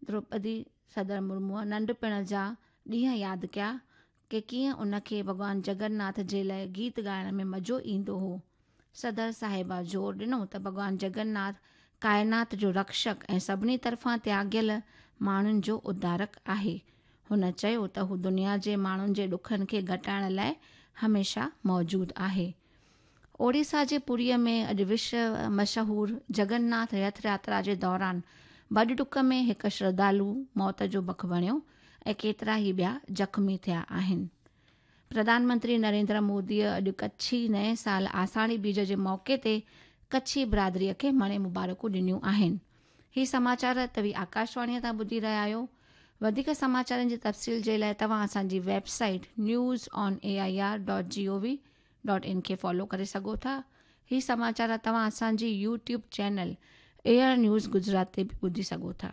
دروپدي صدر मुर्मूअ नंढपण जा ॾींहं यादि कया की कीअं उन खे भॻवानु जगन्नाथ जे लाइ गीत ॻाइण में मज़ो ईंदो हो। सदर साहिबा ज़ोर ॾिनो त भॻवानु जगन्नाथ काइनात जो रक्षक ऐं सभिनी तरफ़ां त्यागियल माण्हुनि जो उद्धारक आहे। हुन चयो त हू दुनिया जे माण्हुनि जे ॾुखनि खे घटाइण लाइ हमेशह मौजूदु आहे। ओडिशा जे पुरीअ में अॼु विश्व मशहूर जगन्नाथ रथ यात्रा जे दौरान भॼ ॾुक में हिकु श्रद्धालु मौत जो बख बणियो ऐं केतिरा ई ॿिया ज़ख़्मी थिया आहिनि। प्रधानमंत्री नरेंद्र मोदीअ अॼु कच्छी नए साल आषाढ़ी बीज जे मौक़े ते कच्छी बिरादरीअ खे मणे मुबारकूं ॾिनियूं आहिनि। ही समाचार तव्हीं आकाशवाणीअ तां ॿुधी रहिया आहियो। वधीक समाचारनि जी तफ़सील जे लाइ तव्हां असांजी website newsonair.gov.in खे फॉलो करे सघो था। ही समाचार तव्हां असांजी YouTube channel AIR news Gujarat ते बि ॿुधी सघो था।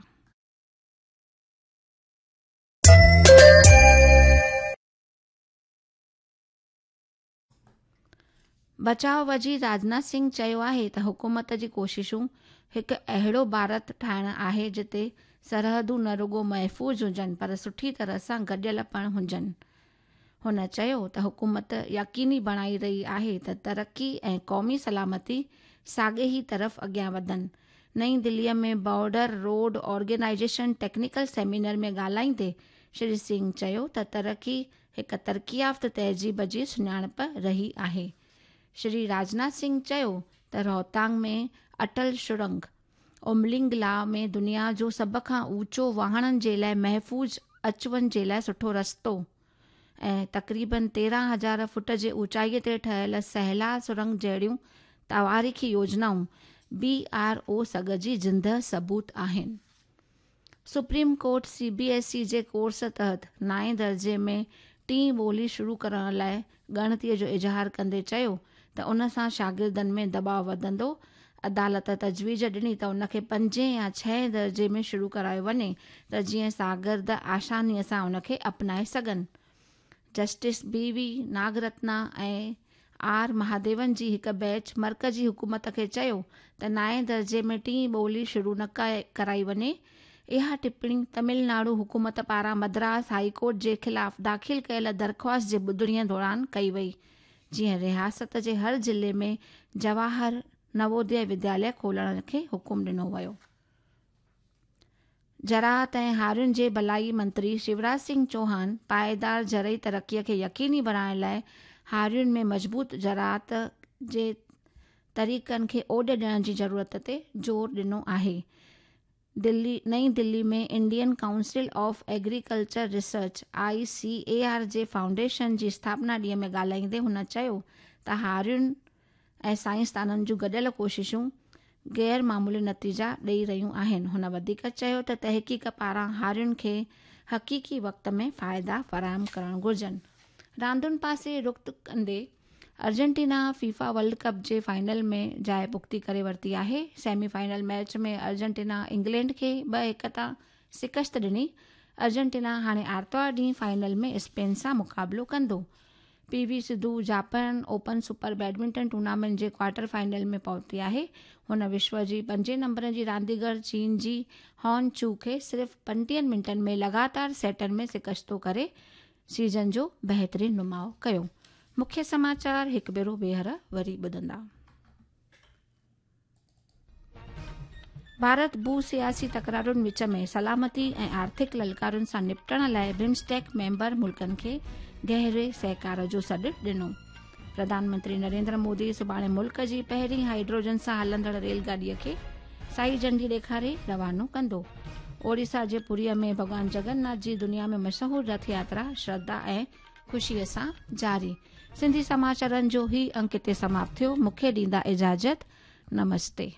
बचाव वज़ीर राजनाथ सिंह चयो आहे त हुकूमत जी कोशिशूं हिकु अहिड़ो भारत ठाहिण आहे जिते सरहदूं न रुॻो महफ़ूज़ हुजनि पर सुठी तरह सां गॾियल पिणु हुजनि। हुन चयो त हुकूमत यकीनी बणाई रही आहे त तरक़ी ऐं क़ौमी सलामती साॻे ई तरफ़ अॻियां वधनि। नई दिल्लीअ में border road organisation technical seminar में ॻाल्हाईंदे श्री सिंह चयो त तरक़ी हिकु तरक़ी याफ़्त तहज़ीब जी सुञाणप रही आहे। श्री राजनाथ सिंह चयो त रोहतांग में अटल सुरंग उमलिंगला में दुनिया जो सभ खां ऊचो वाहणनि जे लाइ महफ़ूज़ अचु वञ जे लाइ सुठो रस्तो ऐं तक़रीबन 13,000 फुट जे ऊचाईअ ते ठहियल सहला सुरंग जहिड़ियूं तवारीख़ी योजनाऊं BRO सघ जी ज़िंदह सबूत आहिनि। सुप्रीम कोर्ट CBSE जे कोर्स तहत 9 दर्जे में टीं ॿोली शुरू करण लाइ ॻणतीअ जो इज़हार कंदे चयो त उन सां शागिर्दनि में दॿाउ वधंदो। अदालत तजवीज़ ॾिनी त उनखे 5 या 6 दर्जे में शुरू करायो वञे त जीअं शागिर्द आसानीअ सां उनखे अपनाए सघनि। जस्टिस BV Nagarathna ऐं R Mahadevan जी हिकु बेंच मर्कज़ी हुकूमत खे चयो त 9 दर्जे में टीं ॿोली शुरू न कराई वञे। इहा टिप्पणी तमिलनाडु हुकूमत पारां मद्रास हाई कोर्ट जे ख़िलाफ़ दाख़िल कयल दरख़्वास्त जे ॿुधणीअ दौरान कई वई, जीअं रियासत जे हर ज़िले में जवाहर नवोदय विद्यालय खोलण खे हुकुम ॾिनो वियो। ज़राअत ऐं हारियुनि जे भलाई मंत्री शिवराज सिंह चौहान पाइदार ज़रई तरक़ीअ खे यकीनी बणाइण लाइ हारियुनि में मज़बूत ज़राअत जे तरीक़नि खे ओॾ ॾियण जी ज़रूरत ते ज़ोर ॾिनो आहे। नई दिल्ली में Indian council of agriculture research ICAR जे फाउंडेशन जी स्थापना ॾींहं में ॻाल्हाईंदे हुन चयो त हारियुनि ऐं साइंसदाननि जूं गॾियल कोशिशूं गैर मामूली नतीजा ॾेई रहियूं आहिनि। हुन वधीक चयो त तहक़ीक़ पारां हारियुनि खे हक़ीक़ी वक़्त में फ़ाइदा फराहम करणु घुर्जनि। रांदुनि पासे रुख़ कंदे अर्जेंटीना फीफा वर्ल्ड कप जे फाइनल में जाइ पुख़्ती करे वरिती आहे। सेमी फाइनल मैच में अर्जेंटीना इंग्लैंड खे 2-1 तां शिकस्त ॾिनी। अर्जेंटीना हाणे आरतवार ॾींहुं फाइनल में स्पेन सां मुक़ाबिलो कंदो। PV Sindhu Japan open super badminton tournament जे क्वार्टर फाइनल में पहुती आहे। हुन विश्व जी 5 नंबर जी रांदीगर चीन जी हॉन चू खे सिर्फ़ 35 मिंटनि में लगातार सेटनि में शिकस्तो करे सीज़न जो बहितरीन नुमाउ कयो। मुख्य समाचार हिकु भेरो ॿीहर वरी ॿुधंदा। भारत भू सियासी तकरारुनि विच में सलामती ऐं आर्थिक ललकारुनि सां निपटण लाइ बिम्स्टेक मेंबर मुल्कनि खे गहरे सहकार जो सॾु ॾिनो। प्रधानमंत्री नरेंद्र मोदी सुभाणे मुल्क जी पहिरीं हाइड्रोजन सां हलंदड़ रेलगाॾीअ खे साई झंडी ॾेखारे रवानो कंदो। ओडिशा जे पुरीअ में भॻवान जगन्नाथ जी दुनिया में मशहूर रथ यात्रा श्रद्धा ऐं ख़ुशीअ सां जारी। सिंधी समाचारनि जो ही अंक हिते समाप्त थियो। मूंखे ॾींदा इजाज़त। नमस्ते।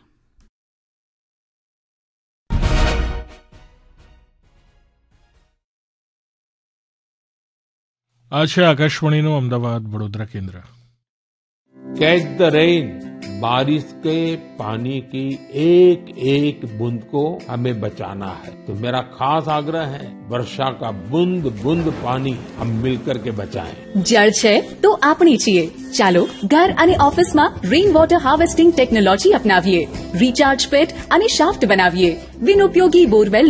આ છે આકાશવાણીનું અમદાવાદ વડોદરા કેન્દ્ર। कैच the rain, बारिश के पानी की एक एक बूंद को हमें बचाना है। तो मेरा खास आग्रह है, वर्षा का बूंद बूंद पानी हम मिलकर के बचाएं। જળ છે તો આપણે છીએ। ચાલો ઘર અને ઓફિસમાં રેઇન વોટર હાર્વેસ્ટિંગ ટેકનોલોજી અપનાવીએ, રીચાર્જ પેટ અને શાફ્ટ બનાવીએ, બિનઉપયોગી બોરવેલને